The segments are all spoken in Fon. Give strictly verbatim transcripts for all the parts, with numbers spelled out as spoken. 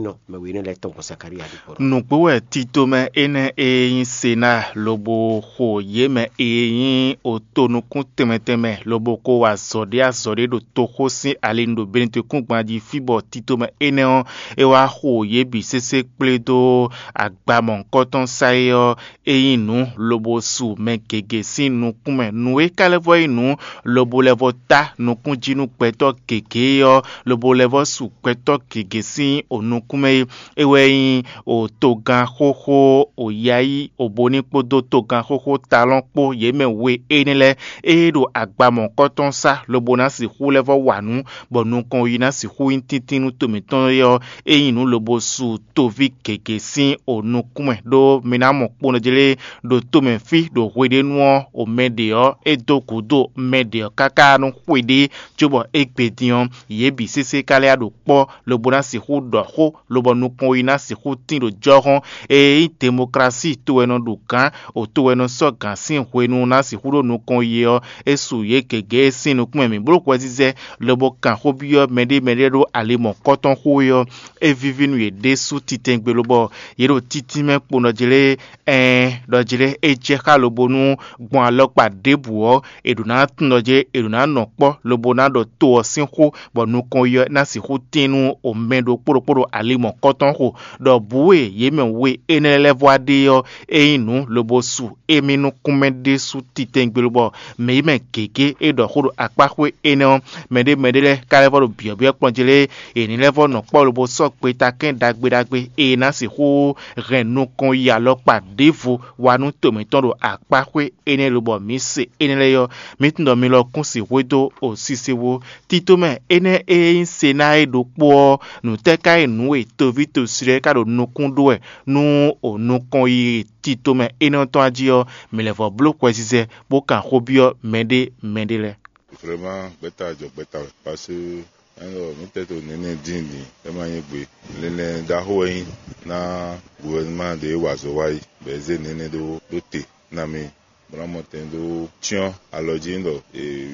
nɔ mɛ we énɛ́ lɛ́ɛ tɔn gbɔn Zakalía ɖokpó nɔ. Nǔgbó wɛ tito mɛ énɛ́ e nyí Senáa lobo xo yě mɛ e nyí oto nukún tɛnmɛ tɛnmɛ lobo ko wa azɔ̌ ɖé azɔ̌ ɖé ɖo toxó sín ali nu ɖo Benɛtɔkúngban jí fí bɔ tito mɛ énɛ́ ɔ́, é wá xo yě bǐ sésé kplé dó agba mɔ̌hunkɔtɔn sá é ɔ́, é nyí nǔ lobo su mɛ gěgé sín nukún mɛ. Nǔ e ka lɛ́ vɔ nyí nǔ lobo lɛ́ vɔ tá nukún jí nú gbɛtɔ́ gěgé ɔ́, lobo lɛ́ vɔ su gbɛtɔ́ gěgé sín o nukún mɛ é. É wɛ nyí o togán xóxó o yayí o boní kpódó togán xóxó talɔn kpó yě mɛ we énɛ́ lɛ́ɛ e ɖo agba mɔ̌hunkɔtɔn sá lobo ná sixú lɛ́ vɔ wa nǔ, bɔ nukɔn yi ná sixú nyí tíntín nú to mǐtɔn é ɔ́, é nyí nǔ lobo su toví gěgé sín o nukún mɛ, ɖó mi ná mɔ kponɔjlé ɖo tomɛ fí ɖo hweɖénu ɔ́, o mɛ ɖě ɔ́, é dó gǔdo mɛ ɖě ɔ́ káká nú xwe ɖé, cóbɔ égbé din ɔ́, yě bǐ sésé ka lɛ́ ɖo kpɔ́ lobo ná sixú ɖɔ xó, lobɔ nukɔn yi ná sixú tín ɖo jɔ́xɔ́n. Ée nyí demoklási to wɛ nɔ ɖu gǎn, o to wɛ nɔ sɔ́ gǎn sín hwenu ná sixú ɖo nukɔn yi ɔ́, é su yě gěgé sín nukún mɛ mǐ bló hwɛzizɛ lobo kan xó byɔ́ mɛɖé mɛɖé ɖó ali mɔ̌kɔtɔn xó é ɔ́, é víví nú yě ɖésú titɛngbe lobɔ yě ɖo títínmɛ kponɔjlé. Ɛɛn, ɖɔ jlé é jɛ xá lobo nú gbɔn alɔkpa ɖěbǔ ɔ́, è ɖǒ ná tunwun ɖɔ jlé è ɖǒ ná nɔ kpɔ́ lobo ná ɖɔ to ɔ́ sín xó, bɔ nukɔn yi ɔ́ ná sixú tín nú o mɛ ɖokpó ɖokpó ɖo ali mɔ̌kɔtɔn xo, ɖɔ bǔ e yě mɛ we énɛ́ lɛ́ɛ vɔ wá ɖe ɔ́, é nyí nǔ lobo su émí nukúnmɛ ɖésú titɛngbe lobɔ mɛ yi mɛ gěgé e ɖɔ xó ɖo akpáxwé énɛ́ ɔ́, mɛɖé mɛɖé lɛ́ɛ ka lɛ́ vɔ ɖo byɔ̌byɔ́ kplɔ́n jlé, è ní lɛ́ vɔ nɔ kpɔ́ lobo sɔ́ gbetakɛ́n ɖagbe ɖagbe e ná sixú hɛn nukɔn yi alɔkpa ɖěvo wá nú to mǐtɔn ɖo akpáxwé énɛ́ lobɔ mǐ se énɛ́ lɛ́ɛ ɔ́, mǐ tunwun ɖɔ mi lɔ kún sixú dó o sise wú. Tito mɛ énɛ́ e nyí Senáa é ɖokpó ɔ́, nǔtɛ́ ka nyí nǔ e toví tosi lɛ́ɛ ka ɖo nukún ɖó wɛ nú o nukɔn yi tito mɛ énɛ́ ɔ́ tɔn jí ɔ́, mǐ lɛ́ vɔ bló hwɛzizɛ bó kan xó byɔ́ mɛɖé mɛɖé lɛ́ɛ. Vraiment, gbɛ́ta jɔ gbɛ́ta wɛ, parce que ɛnɔ mǐtɛɛ to nɛnɛ dín din, é ma nyí gbe. Linlɛn ɖaxó wɛ nyí ná guvɛnuma ɖě wa azɔ̌ wá yi, bɔ é zé nɛnɛ ɖó ɖó te ná mì bó ná mɔ tɛn dó cyɔ́n alɔ jí ɖɔ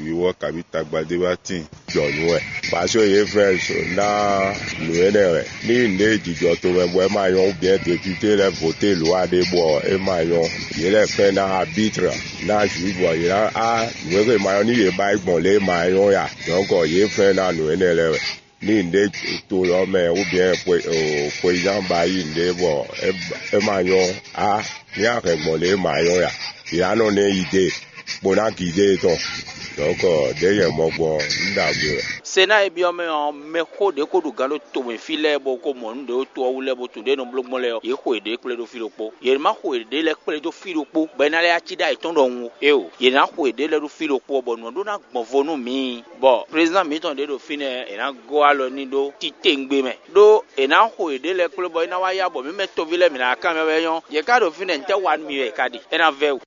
wiwɔ kabí tagba ɖé wá tíin jɔ nǔ wɛ. Parce que yě fɛ ná nǔ énɛ́ wɛ. Ní nǔɖé jijɔ tomɛ bɔ é ma nyɔ́, ou bien député lɛ́ɛ voté lǒ aɖé bɔ é ma nyɔ́, yě lɛ́ fɛ́n ná arbitre ná juge bɔ yě ná á nǔ e ma nyɔ́ ní yě ba yi gbɔn lě e ma nyɔ́ ya. Donc yě fɛ́n ná nǔ énɛ́ lɛ́ɛ wɛ. Ní nǔɖé to lɔ mɛ ou bien xweyizán ba yi nǔɖé bɔ é ma nyɔ́ á, ní a hɛn gbɔn lě e ma nyɔ́ ya. Yě á nɔ ná yi dé bó ná gidé tɔn. Donc ɖěe nyɛ mɔ gbɔn un ɖagbe wɛ. Sena e byɔ́ mɛ ɔ́, mɛxó ɖě ko ɖo gǎn ɖo tomɛ fí lɛ́ɛ bɔ ko mɔ nǔ ɖě ɖo to ɔ́ wú lɛ́ɛ bó tunwun ɖě nɔ bló gbɔn lɛ́ɛ ɔ́, yě xo yěɖée kplé ɖó fí ɖokpó. Yě ma xo yěɖée lɛ́ɛ kplé dó fí ɖokpó bɔ é ná lɛ́ cí ɖó ayǐ tɔn ɖɔhun ó. Éeǒ, yě ná xo yěɖée lɛ́ɛ ɖó fí ɖokpó ɔ́, bɔ nǔ ɔ́ ɖó ná gbɔn vo nú mǐ. Bɔ prezidán mǐtɔn ɖě ɖo fínɛ́, è nǎ gɔ́ alɔ n'i ɖó titewungbe mɛ, ɖó è nǎ xo yěɖée lɛ́ɛ kplé bɔ é ná wá yá bɔ mǐ mɛ toví lɛ́ɛ mǐ ná kanbyɔ́ wɛ nyɔ́. Yě ká ɖo fínɛ́, ntɛ́ wa nú mi wɛ è ka ɖe? É ná vɛ́ wǔ.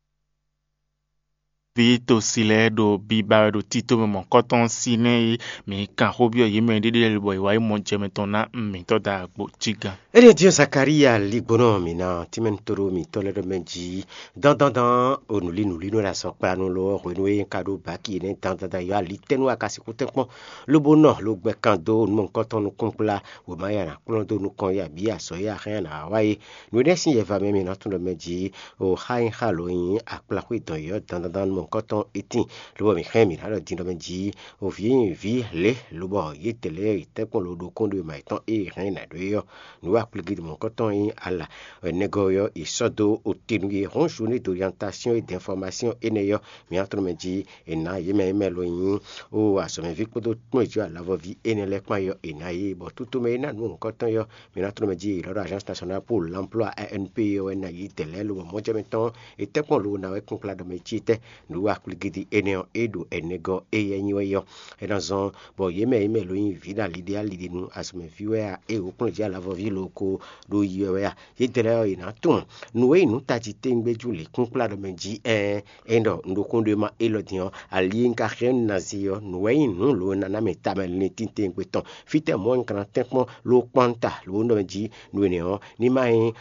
Ví tosi lɛ́ɛ ɖo biba wɛ ɖo tito mɛ mɔ̌kɔtɔn sín nɛ́ e mǐ kan xó byɔ́ yě mɛ ɖéɖé lɛ́ɛ bɔ yě wá yi mɔ jɛ mɛ tɔn ná mǐtɔn da agbo cí gán. Énɛ́ din ɔ́, Zakalía ligbɔnɔ mǐ ná tínmɛ to ɖó mǐtɔn lɛ́ɛ ɖɔ mɛ jí dandandan o nǔlí nǔlí nɔ ɖo azɔ̌ kpla nú lo ɔ́, hwenu e un ka ɖó baki énɛ́ dandandan yɔ ali tɛ́ nú a ka sixú tɛ́nkpɔ́n lobo nɔ lo gbɛ kan dó nú mɔ̌hunkɔtɔn nukúnkplá wěma ya ná kplɔ́n dó nukɔn ya bǐ azɔ̌ ya hɛn ná wa é. Nǔ énɛ́ sín yɛva mɛ mǐ ná tunwun ɖɔ mɛ jí o xá nyí xá lǒ nyí akplaxwé dɔn yɔ̌ dandandan nú mɔ̌hunkɔtɔn étín, lobɔ mǐ xɛn mǐ ná ɖɔ din ɖɔ mɛ jí o vǐ nyi vǐ lě lobɔ yědɛɛ lɛ́ɛ yi tɛ́nkpɔ́n lo ɖokún ɖo ma yětɔn e hɛn nǎ ɖó é ɔ́. Nǔ wa kplígídi mɔ̌hunkɔtɔn nyí ala nɛgɔ́ ɔ́, è sɔ́ dó ote nú yě hɔn journée d'orientation et d'information énɛ́ ɔ́, mǐ ná tunwun mɛ jí è nǎ yě mɛ e mɛ lo nyí o azɔ̌mɛví kpódó kplɔ́njǐ alavɔví énɛ́ lɛ́ɛ kpán yɔ è nǎ yě, bɔ tútú mɛ e ná nǔ mɔ̌hunkɔtɔn yɔ mǐ ná tunwun mɛ jí è nǎ ɖo Agence Nationale pour l'Emploi, A N P, ɔ́ wɛ ná yí dɛ̌ lɛ́ɛ lobɔ mɔ̌jɛmɛ tɔn è tɛ́nkpɔ́n lo ná wɛ kúnkplá ɖɔ mɛ cí tɛ́. Nǔ wa kplígídi énɛ́ ɔ́, é ɖo ɛnɛgɔ́ éyɛ́ nyí wɛ yɔ. É ná zɔ́n bɔ yě mɛ e mɛ lo nyí vǐ ɖo ali ɖé ali ɖé nu azɔ̌mɛví wɛ a, ée wǒ kplɔ́n jǐ alavɔví lo ko ɖo yi wɛ wɛ a, yědɛɛ lɛ́ɛ ɔ́, yě ná tunwun nǔ e nyí nǔ tají tewungbe jú lě kúnkplá ɖɔ mɛ jí ɛɛn. É ɖɔ un ɖo xó ɖé ma élɔ́ din ɔ́, ali e un ka xyɛ́ nú Nazíi ɔ́, nǔ wɛ nyí nǔ lǒ e ná ná mɛ tamɛ linlin titewungbe tɔn. Fítɛ́ mɔ̌ un ka ná tɛ́nkpɔ́n ló kpɔ́n ta lǒ nɔ jí nǔ énɛ́ ɔ́, ní má nyí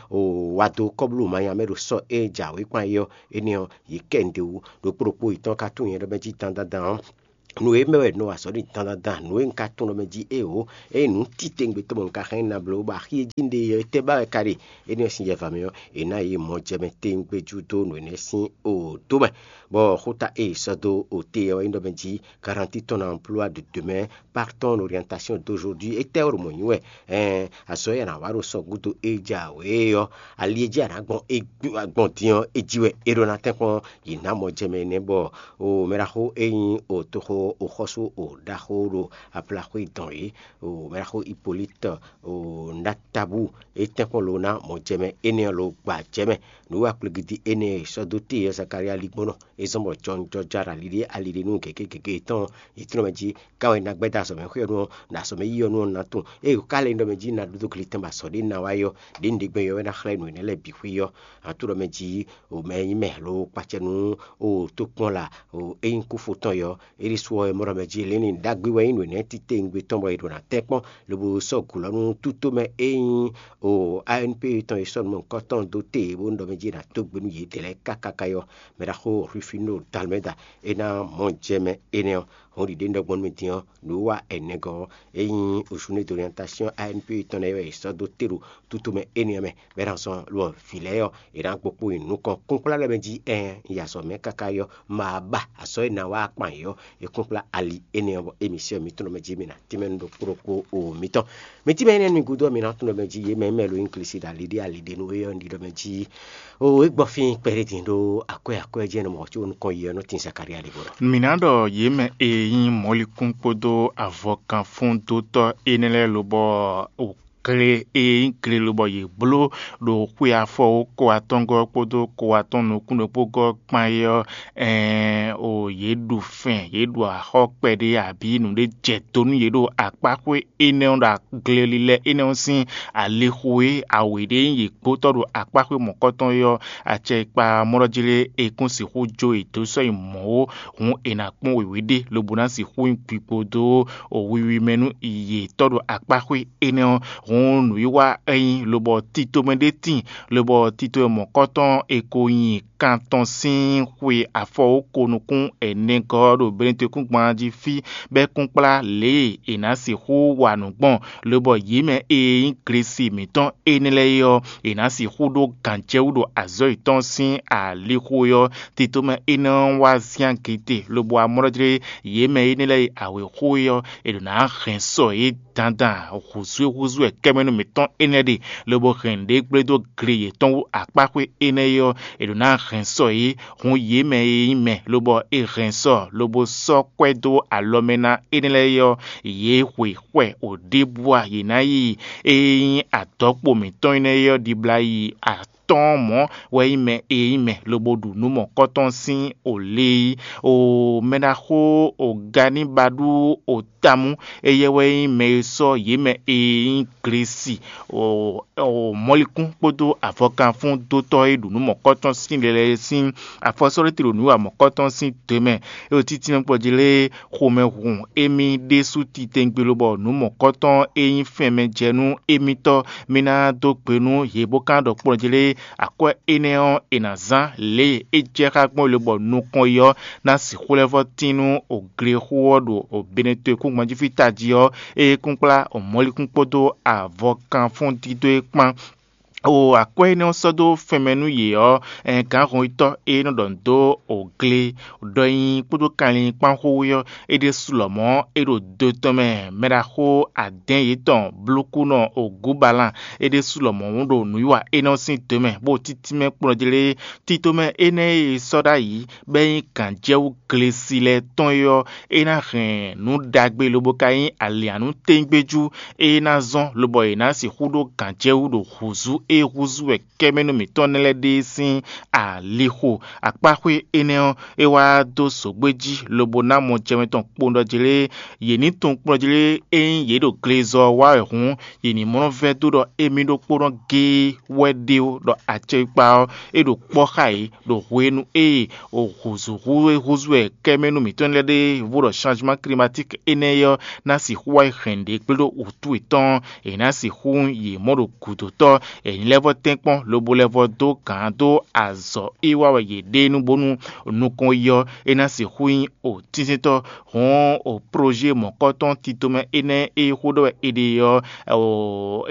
wado kɔ́blú manya mɛ ɖo sɔ́ e jǎwe kpán é ɔ́, énɛ́ ɔ́, yě kɛ un d'é wú. Ɖokpó ɖokpó yětɔn ka tunwun nyɛ ɖɔ mɛ jí dandandan ɔ́, Nǔ e mɛ wɛ nɔ wa azɔ̌ ɖi dandandan, nǔ e un ka tunwun ɖɔ mɛ jí éeǒ, ényí nǔ titewungbe tɔn bɔ un ka hɛn ná bló, bɔ axi e jí un ɖe ɔ́, étɛ́ ba wɛ ka ɖe? Énɛ́ ɔ́ sín yɛ mɛ ɔ́, è nǎ yě mɔ jɛ mɛ tewungbe jú dó nǔ énɛ́ sín odo mɛ. Bɔ xúta e è sɔ́ dó ote ɔ́ wɛ nyí ɖɔ mɛ jí garantie ton emploi de demain, par ton orientation d'aujourd'hui. Étɛ́ ɔ́ ɖo mɔ̌ nyí wɛ? Ɛɛn, azɔ̌ e a nǎ wa ɖo sɔ́ gúdo e jǎwe ɔ́, ali e jí a nǎ gbɔn é gbɔn din ɔ́, é jí wɛ é ɖó ná tɛ́nkpɔ́n. Yě ná mɔ jɛ mɛ énɛ́ bɔ o mɛɖaxó e nyí o toxo o xɔ́sú o ɖaxó ɖo aplaxwé dɔn é, o mɛɖaxó Hippolyte o Natabu, é tɛ́nkpɔ́n lo ná mɔ jɛ mɛ énɛ́ ɔ́ lo gba jɛ mɛ. Nǔ wa kplégídí énɛ́ e è sɔ́ dó te ɔ́ Zakalía lígbɔ́nɔ, é zɔ́n bɔ jɔnjɔja ɖo ali ɖé ali ɖé nú gěgé gěgé yětɔn, yě tlɔ́n mɛ jí ká wɛ ná gbɛ́ dó azɔ̌ mɛ xwé ɔ́ nú ɔ́, ɖo azɔ̌ mɛ yí ɔ́ nú ɔ́ ná tunwun. Ée è ko ka lɛ́ nyí ɖɔ mɛ jí ná ɖó dó glitɛn bɔ azɔ̌ ɖé ná wá yi ɔ́, ɖě un ɖe gbɛn ɔ́ wɛ ná xlɛ́ nǔ énɛ́ lɛ́ɛ bǐ xwé ɔ́. Ǎ tlɔ́ mɛ jí o mɛ e nyí mɛ lo kpacɛ nú o tókpɔ́n la o é nyí kúfo tɔn yɔ, é ɖésú ɔ́, é mɔ ɖɔ mɛ jí Lɛ́nlin ɖagbe wɛ nyí nǔ énɛ́ titewungbe tɔn bɔ è ɖǒ ná tɛ́ kpɔ́n, lobo sɔ́ gǔ lɔ nú tútomɛ e nyí o A N P tɔn e sɔ́ nǔ mɔ̌hunkɔtɔn dó te bó ɖɔ mɛ jí è nǎ dó gbe nú yědɛɛ lɛ́ɛ káká káká ɔ́, mɛ ɖaxó Rufino Dalmɛda é ná mɔ jɛ mɛ énɛ́ ɔ́. Hɔn ɖiɖe un ɖɔ gbɔn nú mi din ɔ́, nǔwiwa ɛnɛgɔ́ ɔ́, é nyí Journée d'orientation A N P tɔn lɛ́ɛ wɛ è sɔ́ dó te ɖo tútomɛ énɛ́ ɔ́ mɛ, bɔ é ná zɔ́n lɔ vǐ lɛ́ɛ ɔ́, è nǎ gbo kpó nyi nukɔn kúnkplá lɛ́ɛ mɛ jí ɛɛn, yi azɔ̌ mɛ káká ɔ́, ma ba azɔ̌ e ná wa kpan yě ɔ́, è kúnkplá ali énɛ́ ɔ́, bɔ émisiɔn mǐtɔn mɛ jí mi ná tínmɛ nú ɖokpó ɖokpó o mitɔn. Mi tínmɛ énɛ́ nú mi gúdo ɔ́, mi ná tunwun ɖɔ mɛ jí yě mɛ mɛ lo nyí Klisi ɖo ali ɖé ali ɖé nú é ɔ́, un ɖi ɖɔ mɛ jí o é gbɔ fí kpɛɖé din ɖó akwɛ́ akwɛ́ jɛ́n nɔ mɔ̌ có nukɔn yi ɔ́ nɔ tín Zakalía ɖěvo ɖɔ. Mǐ ná ɖɔ yě mɛ e nyí mɔ̌likún kpódó avɔkanfúndótɔ́ énɛ́ lɛ́ɛ lobɔ gle e nyí gle lobɔ yě bló ɖo xwe afɔwókɔ atɔ́ngɔ́ kpódó kɔ atɔn nukún ɖokpó gɔ́ kpán é ɔ́, ɛɛn o yě ɖu fɛn, yě ɖu axɔ́ kpɛɖé abǐ nǔɖé jɛ do nú yě ɖo akpáxwé énɛ́ ɔ́ ɖo gle lílɛ́ énɛ́ ɔ́ sín alixo e awě ɖé nyí yě gbotɔ́ ɖo akpáxwé mɔ̌kɔtɔn é ɔ́, acɛ e kpa mɔɖɔjlé e kún sixú jó yě dó sɔ́ nyi mɔ̌ ó, hǔn è nǎ kpɔ́n wěwé ɖé lobo ná sixú nyí gbigbo dó wiwi mɛ nú yětɔn ɖo akpáxwé énɛ́ ɔ́. Hǔn nǔwiwa é nyí lobɔ tito mɛ ɖé tíin, lobɔ tito e mɔ̌kɔtɔn è ko nyi kan tɔn sín xwe afɔwóko nukún ɛnɛgɔ́ ɔ́ ɖo Benɛtɔ́kúngban jí fí, bɔ é kún kplá lě e è nǎ sixú wa nǔ gbɔn, lobɔ yě mɛ e nyí Glesi mǐtɔn énɛ́ lɛ́ɛ é ɔ́, è nǎ sixú ɖó gǎnjɛwú ɖo azɔ̌ yětɔn sín alixo é ɔ́. Tito mɛ énɛ́ ɔ́ wá zyán gete, lobo amlɔ́ jlé yě mɛ énɛ́ lɛ́ɛ e awě xo é ɔ́, è ɖǒ ná hɛn sɔ yě dandan hǔzú e húzú wɛ kɛ́mɛnú mǐtɔn énɛ́ ɖe, lobo hɛn nǔɖé gblé dó gle yětɔn wú akpáxwé énɛ́ é ɔ́, è ɖǒ ná hɛn sɔ yě, hun yě mɛ e nyí mɛ, lobɔ è hɛn sɔ, lobo sɔ́ kwɛ́ dó alɔ mɛ ná énɛ́ lɛ́ɛ é ɔ́, yě hwe xwɛ wǒ ɖěbǔ a yě ná yi e nyí adɔ̌kpo mǐtɔn énɛ́ é ɔ́ ɖibla yi atɔ́ɔ́n mɔ̌ wɛ nyí mɛ e nyí mɛ, lobo ɖu nǔ mɔ̌kɔtɔn sín o lé yi. O mɛ ɖaxó o Ganíbaɖu o Tamú, éyɛ́ wɛ nyí mɛ e sɔ́ yě mɛ e nyí Glesi o mɔlikún kpódó avɔkanfúndótɔ́ e ɖu nǔ mɔ̌kɔtɔn sín lɛlɛ sín afɔsɔ́ɖéte ɖo nǔ wa mɔ̌kɔtɔn sín do mɛ, é ɖo títínmɛ kplɔ́ jí lé xomɛhun émí ɖésú titewungbe lobɔ nǔ mɔ̌kɔtɔn e nyí fɛnmɛ jɛ nú émítɔ́ mì ná dó gbe nú yě bó ka ɖɔ kplɔ́n jí lé akwɛ́ énɛ́ ɔ́, è nǎ zán lě e é jɛ xá gbɔn lobɔ nukɔn yi ɔ́ ná sixú lɛ́ vɔ́ tín nú glexó ɔ́ ɖo Benɛto e kún gbɔn jí fí tají ɔ́, é kún kplá mɔ̌likún kpódó avɔkanfún dídó é kpán. O akwɛ́ énɛ́ ɔ́ sɔ́ dó fɛnmɛ nú yě ɔ́, gǎnhɔnyitɔ́ e nɔ ɖɔ nǔ dó o gle ɖɔ nyi kpódó kanlin kpán xó wú ɔ́, é ɖésú lɔmɔ̌ é ɖo do tɔn mɛ. Mɛɖaxó adɛ̌n yětɔn blúkúnɔ Ogubalan é ɖésú lɔmɔ̌ ɖo nǔwiwa énɛ́ ɔ́ sín do mɛ, bó títí mɛ kplɔ́n jí lé. Tito mɛ énɛ́ e è sɔ́ ɖ'ayǐ bɔ é nyí gǎnjɛwú glesi lɛ́ɛ tɔn é ɔ́, é ná hɛn nǔ ɖagbe lobo ka nyí alǐannú tɛ́ngbéjú e é ná zɔ́n, lobɔ è nǎ sixú ɖó gǎnjɛwú ɖo hǔzú e húzú wɛ kɛ́mɛnú mǐtɔn nɛ́ lɛ́ɛ ɖe sín alixo. Akpáxwé énɛ́ ɔ́, é wá dó zǒgbé jí lobo ná mɔ jɛmɛ tɔn kpowun ɖɔ jlé. Yě ní tunwun kplɔ́n jlé ényí yě ɖo glezɔ ɔ́ wa wɛ hǔn, yě ní mlɔ́ vɛ́ dó ɖɔ émí ɖokpónɔ géé wɛ ɖe ó, ɖɔ acɛkpa ɔ́, é ɖo kpɔ́ xá yě ɖo hwenu e hǔzúhú e húzú wɛ kɛ́mɛnú mǐtɔn lɛ́ɛ ɖe vo ɖɔ changement climatique énɛ́ ɔ́ ná sixú wá yi hɛn ɖě gblé ɖo wǔtu yětɔn, è nǎ sixú yě mɔ ɖo gǔdo tɔ́, è Mǐ lɛ́ vɔ́ tɛ́nkpɔ́n lobo lɛ́ vɔ́ dó gǎn dó azɔ̌ e wa wɛ yě ɖe é nu bónú nukɔn yi ɔ́, é ná sixú nyí o tínsíntɔ́. Hɔn o proje mɔ̌kɔtɔn tito mɛ énɛ́ e xó ɖɔ wɛ è ɖe ɔ́,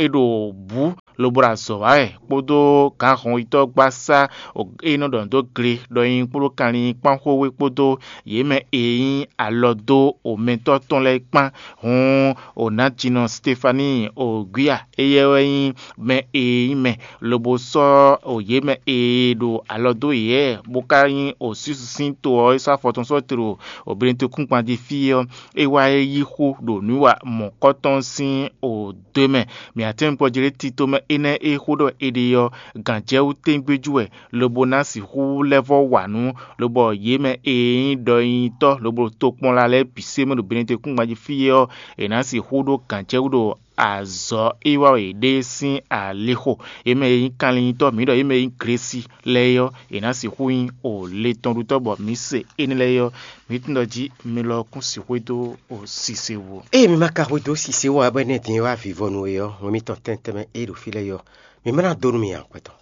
é ɖo bǔ lobo ɖo azɔ̌ wa wɛ kpódó gǎnhɔnyitɔ́gbasá e nɔ ɖɔ nǔ dó gle ɖɔ nyi kpódó kanlin kpán xwé kpódó yě mɛ e nyí alɔ dó omɛtɔ́ tɔn lɛ́ɛ kpán. Hɔn Onajínɔ Stefani Oguia, éyɛ́ wɛ nyí mɛ e nyí mɛ, lobo sɔ́ yě mɛ e ɖo alɔ dó yě, bó ka nyí osísisín to ɔ́ e sɔ́ afɔ tɔn sɔ́ te ɖo Benɛtɔkúngban jí fí ɔ́, é wá yi xo ɖo nǔwiwa mɔ̌kɔtɔn sín odwe mɛ. Mǐ atɛ́ngbɔ́ Jeleti tomɛ énɛ́ e xó ɖɔ è ɖe ɔ́, gǎnjɛwú tɛ́ngbéjú wɛ, lobo ná sixú lɛ́ vɔ́ wa nǔ, lobɔ yě mɛ e nyí ɖɔnyitɔ́ lobo ɖo tokpɔnla lɛ́ɛ bǐ se mɛ ɖo Benɛtɔkúngban jí fí é ɔ́, è nǎ sixú ɖó gǎnjɛwú ɖo azɔ̌ e wa wɛ yě ɖe sín alixo. Yě mɛ e nyí kanlin-nyitɔ́ mǐ ɖɔ yě mɛ e nyí Glesi lɛ́ɛ é ɔ́, è nǎ sixú nyí o le tɔn ɖutɔ́ bɔ mǐ se énɛ́ lɛ́ɛ é ɔ́, mǐ tunwun ɖɔ jí mi lɔ kún sixú dó o sise wú. Ée mi ma ka xwedó sise wú ǎ bɔ énɛ́ din e wá vivɔ nú we ɔ́, wɛn mitɔn tɛntɛn mɛ e ɖo fí lɛ́ɛ é ɔ́, mi ma ná dó nú mi ǎ, akwɛ́tɔ́.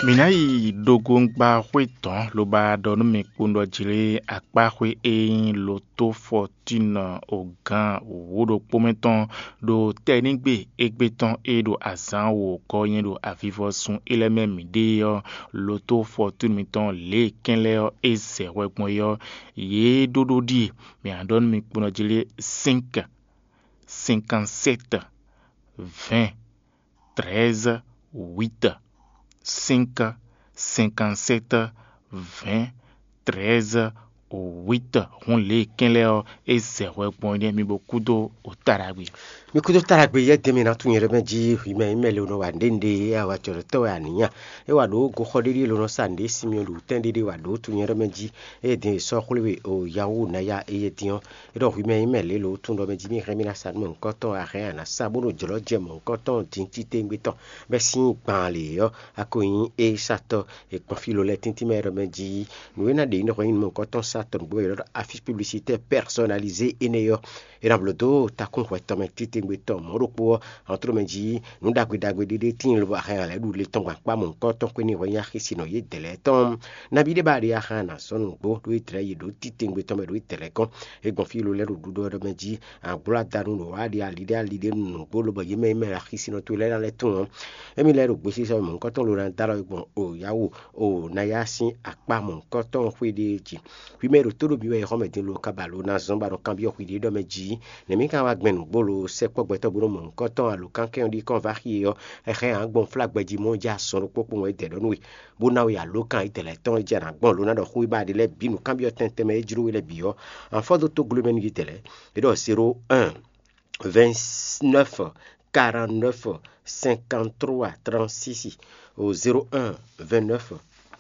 Mǐ ná yi ɖogongba xwé tɔn lobo ɖɔ nú mi kpowun ɖɔ jlé akpáxwé e nyí Lotofɔtín ogán wǒ ɖokpó mɛ tɔn ɖo tɛnígbe égbé tɔn e ɖo azǎn wǒ gɔ́ nyɛ ɖo avivɔsun é lɛ́ɛ mɛ mǐ ɖe ɔ́, Lotofɔtín mitɔn lě e kɛn lɛ́ɛ ɔ́ é zɛ hwɛ gbɔn é ɔ́, yě ɖó ɖó ɖíe. Mǐ ná ɖɔ nú mi kpowun ɖɔ jlé: cinq, cinquante-sept, vingt, treize, huit, cinq, cinquante-sept, vingt, treize, huit. Hun lě e kɛn lɛ́ɛ ɔ́, é zɛ hwɛ gbɔn é nɛ́ mi bo kúdó o ta ɖagbe. Mi kúdó ta ɖagbe yɛ́ dɛn mi ná tunwun nyɛ ɖɔ mɛ jí hwi mɛ nyí mɛ le nɔ wa nǔɖé nǔɖé e a wa jɔ̌ɖɔtɔ́ wɛ a nǐ nya. É wa ɖǒ goxɔ ɖéɖé e ló nɔ sa nǔɖé sinmi ɔ́ ɖo wǔtɛn ɖéɖé wa ɖǒ tunwun nyɛ ɖɔ mɛ jí. Ée din è sɔ́ xwlé we o Yawu Naya éyɛ́ din ɔ́, é ɖɔ hwi mɛ nyí mɛ lě lǒ tunwun ɖɔ mɛ jí mì hɛn mì ná sa nú mɔ̌hunkɔtɔn a hɛn a nǎ sa bónú jlɔ̌ jɛ mɔ̌hunkɔtɔn din titewungbe tɔn bɛ́ sín gbaan lě ɔ́, a ko nyí éyísatɔ́ e gbɔn fí ló lɛ́ɛ tíntín mɛ é ɖɔ mɛ jí nǔ e ná ɖe nyí ɖɔ hwɛ nyí nǔ mɔ̌hunkɔtɔn sa tɔn nǔgbó e è nɔ ɖɔ affiche publicitaire personnalisée énɛ́ ɔ́, è nǎ blǒ dó takún hwɛ tɔn mɛ titewungbe tɔn mɔ̌ ɖokpó ɔ́, hɔntró mɛ jí nǔ ɖagbe ɖagbe ɖé ɖé tíin lobo a hɛn a lɛ̌ ɖu le tɔn gbɔn akpá mɔ̌hunkɔtɔn xwé ní hwɛ nyí axi sin nɔ yědɛɛ lɛ́ɛ tɔn. Nabí ɖé ba ɖe a hɛn a nǎ zɔ́n nǔgbó ɖó Izlayɛ́li ɖo títewungbe tɔn mɛ ɖo Izlayɛ́li gɔ́n. É gbɔn fí ló lɛ́ ɖo ɖuɖɔ ɖɔ mɛ jí àgblo adanu ɖo wá ɖi ali ɖé ali ɖé nǔgbó lobɔ yě mɛ e mɛ axi sin nɔ towe lɛ́ɛ ná lɛ́ tunwun ɔ́, émí lɛ́ɛ ɖo gbesisɔ mɔ̌hunkɔtɔn ló ná dó alɔ gbɔn o Yawu o ná yá sín akpá mɔ̌hunkɔtɔn xwé ɖé jí. Hwi mɛ e ɖo tó ɖo mǐ wɛ e xɔ mɛ din lo ka ba lo ná zɔ́n ba nɔ kanbyɔ́ hwi ɖě ɖɔ mɛ jí, nɛ̌ mì ka wá gbɛn nǔgbó lo sɛkpɔ́ gbɛtɔ́ bó nɔ mɔ̌hunkɔtɔn alo kankɛn ɔ́ ɖi kɔn vá xi é ɔ́, é hɛn ǎ gbɔn flá gbɛjí mɔ jɛ azɔn ɖokpó kpowun é dɛ ɖɔ nú we, bó ná we alǒkan yi dɛ̌lɛ́ tɔn é jɛ nǎ gbɔn lo ná ɖɔ xó e ba ɖe lɛ́ɛ bǐ nǔkanbyɔ́ tɛntɛn mɛ é jló we lɛ́ɛ bǐ ɔ́, anfɔ́ dó tóglomɛnu yi dɛ̌lɛ́. É ɖɔ zéro un, vingt-neuf, quarante-neuf, cinquante-trois, trente-six, au zéro un, vingt-neuf,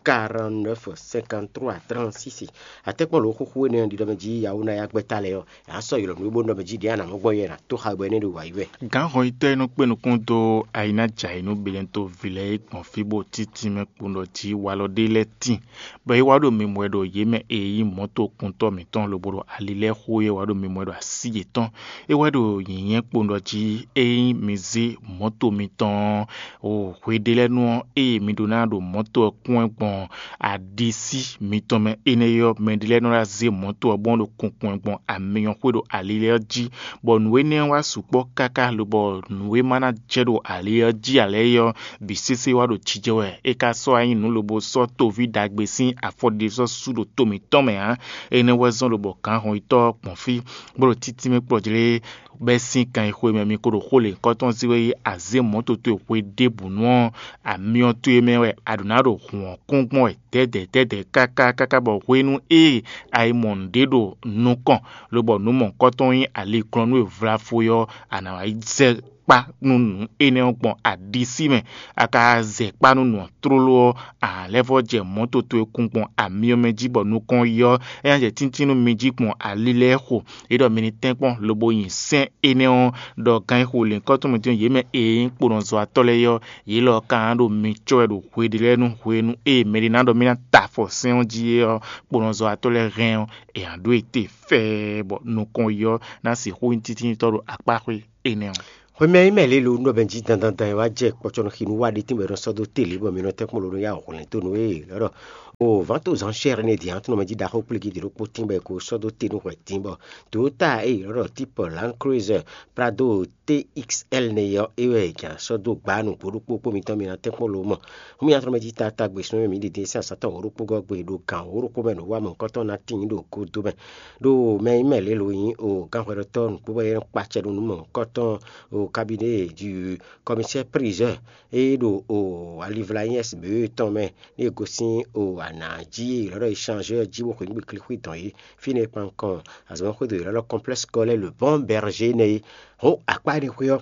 quarante-neuf, cinquante-trois, trente-six. Atɛ́kpɔ́n lǒ xúxú énɛ́ ɔ́ ɖiɖɔ mɛ jí Yawu ná yá gbɛ́ ta lɛ́ɛ ɔ́, è nǎ sɔ́ ylɔ̌ nú é bó nɔ mɛ jí ɖě a nǎ mɔ gbɔn yɛ è nǎ tó xa bɔ énɛ́ ɖo wǎ yi wɛ. Gǎnhɔnyitɔ́ e nɔ kpé nukún dó ayinájǎ e nú Benɛto ví lɛ́ɛ é gbɔn fí bó títí mɛ kpowun ɖɔ jí walɔ ɖé lɛ́ɛ tíin, bɔ é wá ɖo mimɔ wɛ ɖo yě mɛ e nyí mɔ̌tokuntɔ́ mǐtɔn lobo ɖo ali lɛ́ɛ xo é wá ɖo mimɔ wɛ ɖo así yětɔn. É wɛ ɖo nyǐnyɛ́ kpowun ɖɔ jí ényí mi zé mɔ̌to mitɔn ɔ́, o hweɖélɛ́nu ɔ́, ée mi ɖó ná ɖo mɔ̌to ɔ́ kún wɛ gbɔn aɖisí mitɔn mɛ énɛ́ ɔ́, mɛɖé lɛ́ɛ nɔ ná zé mɔ̌to ɔ́ gbɔn ɖo kunkun wɛ gbɔn amyɔxwé ɖo ali lɛ́ɛ ɔ́ jí, bɔ nǔ énɛ́ ɔ́ wá sukpɔ́ káká lobɔ nǔ e ma ná jɛ ɖo ali ɔ́ jí ǎ lɛ́ɛ é ɔ́, bǐ sésé wá ɖo jijɛ wɛ. É ka sɔ́ wá nyí nǔ lobo sɔ́ toví ɖagbe sín afɔ ɖé sɔ́ sú ɖo to mǐtɔn mɛ ǎ. Énɛ́ wɛ zɔ́n lobɔ gǎnhɔnyitɔ́ ɔ́ gbɔn fí, bó ɖo títí mɛ kplɔ́ jlé bɛ́ sín kan e xwe mɛ mi ko ɖo xó lěhunkɔtɔn zé wɛ yi azě mɔ̌ towe hwe ɖěbǔnu ɔ́, amyɔ towe mɛ wɛ a ɖǒ ná ɖo hǔn ɔ́ kún gbɔn wɛ dɛ̌dɛ̌ dɛ̌dɛ̌ káká káká bɔ hwenu e a yi mɔ nǔɖé ɖo nukɔn, lobɔ nǔ mɔ̌hunkɔtɔn nyí aliglɔ́nú e vlafo é ɔ́, a nǎ wá yi zɛ kpá nú nǔ énɛ́ ɔ́ gbɔn aɖisí mɛ, a ka zɛ kpá nú nǔ ɔ́ tlóló ɔ́, a lɛ́ vɔ́ jɛ mɔ̌ toto e kún gbɔn amyɔ mɛ jí bɔ nukɔn yi ɔ́, é ná jɛ tíntín nú mi jí gbɔn ali lɛ́ɛ xo. É ɖɔ mi ní tɛ́nkpɔ́n lobo nyi sɛ́n énɛ́ ɔ́, ɖɔ gán e xo lěhunkɔ́tɔn mǐtɔn yě mɛ e nyí kponɔzɔ́watɔ́ lɛ́ɛ é ɔ́, yě lɔ ka ná ɖo mi cɔ́ wɛ ɖo hwe ɖé lɛ́ɛ nú hwenu e mɛɖé ná ɖɔ mì ná ta afɔ sɛ́n ɔ́ jí é ɔ́, kponɔzɔ́watɔ́ lɛ́ɛ hɛn ɔ́, è nǎ ɖó e te fɛ́ɛ bɔ nukɔn yi ɔ́ ná sixú nyí títínitɔ́ ɖo akpáxwé énɛ́ ɔ́. Xwemɛ e mɛ lě lo nú ɖɔ mɛ jí dandandan e wá jɛ kpɔcɔnɔxinu wá ɖe tínbɔ è nɔ sɔ́ dó te lě bɔ mi nɔ tɛ́nkpɔ́n lo nɔ yá hwlɛ̌n dó nú é lɔ́ ɖɔ o vǎn to zǎn shɛ́r énɛ́ din ǎ tɔn mɛ jí ɖaxó kplígí ɖě ɖokpó tínbɔ è ko sɔ́ dó te nú hwɛ din bɔ Toyota e è nɔ ɖɔ típɔ Land Cruiser Prado T X L nɛ ɔ́, é wɛ è jǎ sɔ́ dó gbá nǔgbó ɖokpó kpó mitɔn mi ná tɛ́nkpɔ́n lo mɔ. Hǔn mi ná tlɔ́ mɛ jí taatagbe sun e mǐ ɖi din sín azǎn tɔn wǒ ɖokpó gɔ́ gbe ɖo gǎn wǒ ɖokpó mɛ ɖo wá mɔ̌hunkɔtɔn ná tíin ɖo gúdo mɛ. Ɖó mɛ nyí mɛ lě lo nyí o gánhwɛɖɔtɔ́ nǔkpó wɛ é nɔ kpa acɛ ɖo nǔ mɔ̌hunkɔtɔn o cabinet du commissaire priseur e ɖo o alivla nyí S B E tɔn mɛ ní è gosín o anǎ jí e è nɔ ɖɔ échange ɔ́ jí bó xweyǐgbe klixwí dɔn é. Fínɛ́ kpankɔn azɔ̌mɛxwédo è nɔ ɖɔ complexe scolaire le bon berger nɛ́ é. Hɔn akpá énɛ́ xwé ɔ́,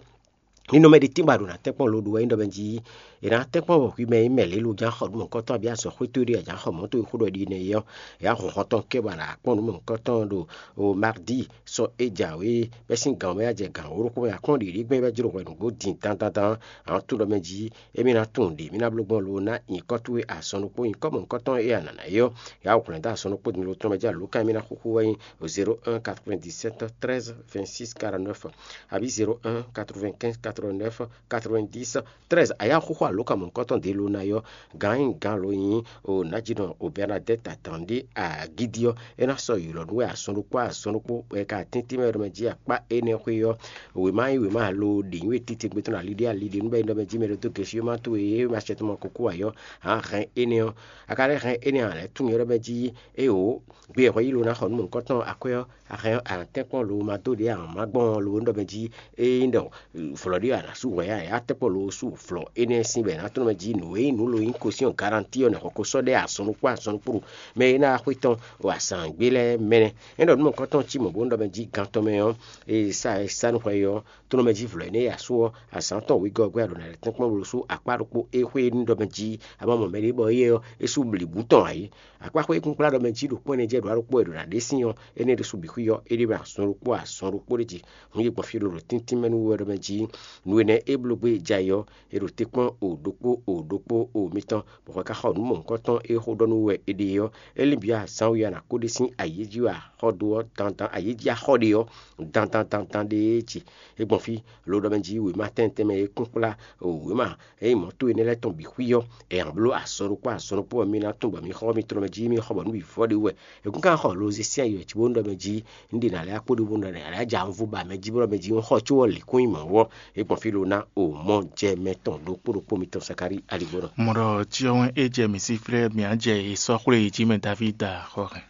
ní nɔ mɛ ɖé tínbɔ a ɖo ná tɛ́nkpɔ́n lo ɖo wɛ nyí ɖɔ mɛ jí è nǎ tɛ́nkpɔ́n wɔ hwi mɛ e mɛ lě lo ján xɔ nǔ mɔ̌hunkɔtɔn abǐ azɔ̌ xwétó ɖé a jǎn xɔ mɔ̌ towe xó ɖɔ ɖi nɛ́ é ɔ́, è yǎ hɔn xɔntɔn kɛ́ bɔ a nǎ kpɔ́n nǔ mɔ̌hunkɔtɔn ɖo o mardi sɔ é jǎwe bɛ́ sín gǎn mɛ wɛ a jɛ gǎn wǒ ɖokpó mɛ a kpɔ́n ɖiɖí gbɛn bɛ́ jló hwɛ nǔgbó din dandandan. A nǎ tunwun ɖɔ mɛ jí émí ná tunwun ɖě mí ná bló gbɔn lo ná nyǐkɔ towe azɔn ɖokpó nyǐkɔ mɔ̌hunkɔtɔn e a nǎ ná é ɔ́, è yǎ hwlɛ̌n dó azɔn ɖokpó din lo tɔn mɛ jí alǒkan e mí ná xúxú wɛ nyí zéro un quatre-vingt-dix-sept treize vingt-six quarante-neuf abǐ zéro un quatre-vingt-quinze quatre-vingt-neuf quatre-vingt-dix treize. A yǎ xúxú alǒkan mɔ̌hunkɔtɔn ɖě lo ná é ɔ́, gǎn e nyí gǎn lo nyí o nǎjínɔ o Bɛrnadɛ́t Atandi Agídí ɔ́, é ná sɔ́ ylɔ̌ nú wɛ azɔn ɖokpó azɔn ɖokpó bɔ è ka tɛ́ntin mɛ ɖɔmɛ jí akpá énɛ́ xwé ɔ́, wěma nyí wěma lo ɖě nyí we titewungbe tɔn ali ɖé ali ɖé nú bɔ é nɔ mɛ jí mɛ ɖo dó gěsí ma towe e ma sɛ tɔn mɔ kókó ǎ ɔ́, a hɛn énɛ́ ɔ́, a ka lɛ́ hɛn énɛ́ ǎ lɛ́ tunwun ylɔ́ mɛ jí é o gbe e hwɛ yí lo ná xɔ nú mɔ̌hunkɔtɔn akwɛ́ ɔ́, a hɛn a nǎ tɛ́nkpɔ́n lo ma dó ɖě a nǎ má gbɔn lo nú ɖɔ mɛ jí ényí ɖɔ vlɔ̌ ɖé a nǎ sú hwɛ ǎ, a tɛ́nkpɔ́n lo sú vlɔ̌ énɛ́ sín bɔ è nǎ tlɔ́n mɛ jí nǔ e nyí nǔ lo nyí kosín ɔ́ garantíi ɔ́ nɛ̌ xɔ ko sɔ́ ɖɛ́ azɔn ɖokpó azɔn ɖokpó ɖo mɛ e ná wá xwé tɔn ɖo azǎngbe lɛ́ɛ mɛ nɛ́. É ɖɔ nú mɔ̌hunkɔtɔn cí mɔ̌ bó nú ɖɔ mɛ jí gan tɔn mɛ ɔ́, e sa e sa nú hwɛ é ɔ́, tlɔ́n mɛ jí vlɔ̌ énɛ́ e a sú ɔ́, azǎn tɔn wegɔ́ ɔ́ gbɛ́ a ɖǒ ná lɛ́ tɛ́nkpɔ́n lo sú akpá ɖokpó é xwé nú ɖɔ mɛ jí a ma mɔ mɛɖé bɔ éyɛ́ ɔ́, é sú blǐbǔ tɔn ǎ é. Akpáxwé e kún kplá ɖɔ mɛ jí ɖo kpɔ́n ɛnɛ jɛ ɖǒ ɖokpó wɛ ɖo nǎ ɖe sín ɔ́, énɛ́ ɖésú bǐ xwí ɔ́, é ɖe mɛ azɔn ɖokpó azɔn ɖokpó ɖé jí. Hǔn yě gbɔn fí ɖo ɖo tíntín mɛ nú wɛ ɖɔ mɛ jí nǔ énɛ́ é bló gbé jɛ ayǐ ɔ́, è ɖo te kpɔ́n o ɖokpó o ɖokpó o mitɔn, bɔ hwɛ ka xɔ nǔ mɔ̌hunkɔtɔn e xó ɖɔ nú wɛ è ɖe ɔ́, é lín bǐ azǎn we a nǎ kó ɖe sín ayǐ jí wɛ a xɔ dó ɔ́ dandan ayǐ jí a xɔ ɖe ɔ́ dandan dandan ɖéé jí. É gbɔn fí lo ɖɔ mɛ jí wěma tɛ́ntɛn mɛ e kún kplá wěma ényí mɔ̌ towe énɛ́ lɛ́ɛ tɔn bǐ xwí ɔ́, è nǎ bló azɔn ɖokpó azɔn ɖokpó ɔ́, mi ná tunwun bɔ mi xɔ mitɔn mɛ jí mi xɔ bɔ nǔ bǐ vɔ ɖé wú wɛ. È kún ka xɔ lo zé sín ayǐ wɛ cí bó nú ɖɔ mɛ jí un ɖe nǎ lɛ́ akpó ɖé bó nú ɖɔ nǎ lɛ́ ja un vú ba mɛ jí bó ɖɔ mɛ jí un xɔ có ɔ́ lǐ kún nyi mɔ̌ ɔ́, é gbɔn fí lo ná o mɔ jɛ mɛ tɔn ɖokpó ɖokpó mitɔn Sakári aligbó nɔ. Mɔ ɖɔ cyɔ́wɛn e jɛ mǐ sí flɛ́ mǐ á jɛ e sɔ́ xwlé yi jí mɛ Davída xɔ hɛn.